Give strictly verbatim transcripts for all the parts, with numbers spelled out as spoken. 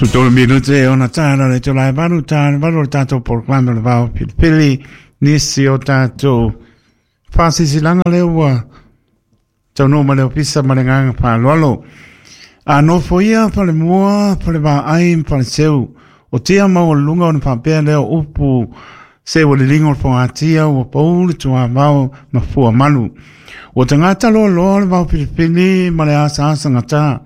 Sutolu minute ona tāna le tō lai valu tāna valu o le tātou polokalame o le Vao Pilipili nisi o tātou whasisilaga le ua taunuu ma le ofisa ma le agaga faaaloalo. A nofo ia fale mua, fale vaai ma fale seu, o tia maualuluga ona faapea lea o upu se ua liliga o le fogatia ua pau le tuavao ma fua malu. Ua tagata loaloa le Vao Filifili ma le asaasagata.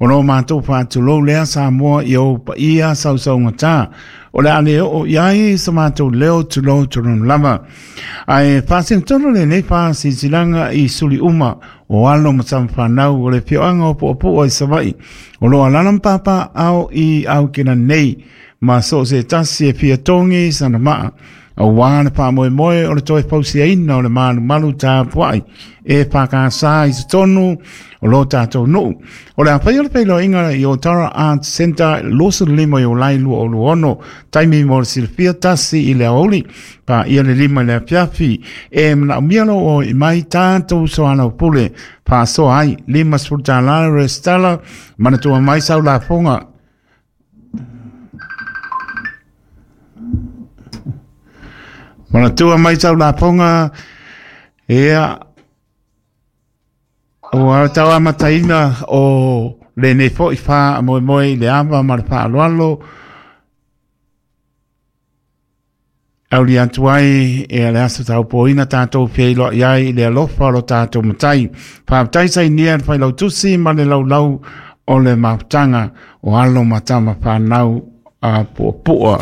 O lo matou faatulou lea Samoa i ou paia sausaugata. O le a le oo i ai sa matou leo tulou tulonu lava. Ae faasinatonu lenei faasilasilaga i suli uma o alo ma tamafanau o le afioaga o Puapua i Savaii. O lo alaala ma papaaao i Aukena nei ma so o se tasi e fia togi sana maa. Auā le faamoemoe o le toe fausiaina o le malumalu tapuai e whakasa i totonu o lo tātou nuu. O le a faia le feiloaiga i Otara Arts Centre luasefulu lima Iulai lua o lua ono, taimi mo le silafia tasi i le aoauli paia le lima i le afiafi. E manaomia lo o i mai tātou soalaupule faasoa ai lima sefulu tālā resitala manatua mai sau lafoga. Manatua mai sau lafoga ia ua tau amataina o lenei fo'i faamoemoe i le ava ma le faaaloalo auli atu ai e le aso taupoina tātou feiloai ai i le alofa o lo tātou matai. Faafetai sainia le failautusi ma le laulau o le mafutaga o alo ma tama whanau a puapua.